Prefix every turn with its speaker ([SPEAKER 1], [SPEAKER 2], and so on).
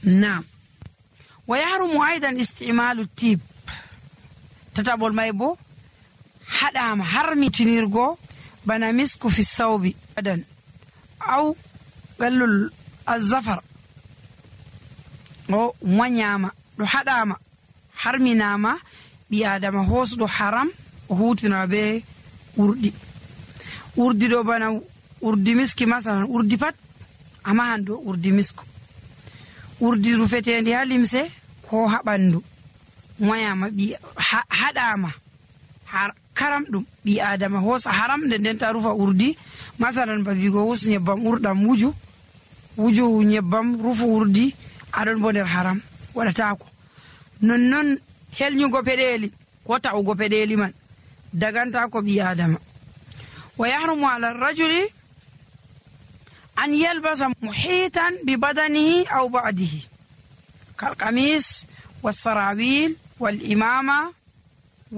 [SPEAKER 1] Naam. Wa yahrumu aidan istimalu tib. Tataɓol may bo haɗama harmitinirgo bana misku fi sawbi adan aw gallul azafar o moƴƴama ɗo haɗama harminama ɓi adama hosɗo haram o hutinora be urdi ɗo bana urdi miski masalan urdi pat amahan do urdi misku urdi rufetendi ha limse ko ha ɓandu moƴƴama ɓi haɗama karam ɗum ɓi adama hosa haram nden ta rufa urdi masalan ba wigo hus nyebbam urɗam wuju nyebbam rufu urdi aɗon bo nder haram waɗatako nonnon helñugo peɗeli ko ta'ugo peɗeli man daganta ko ɓi adama. Wa yahrumu ala rajuli an yalbasa muhitan bi badanihi aw ba'dihi kal qamis was sarawil wal imama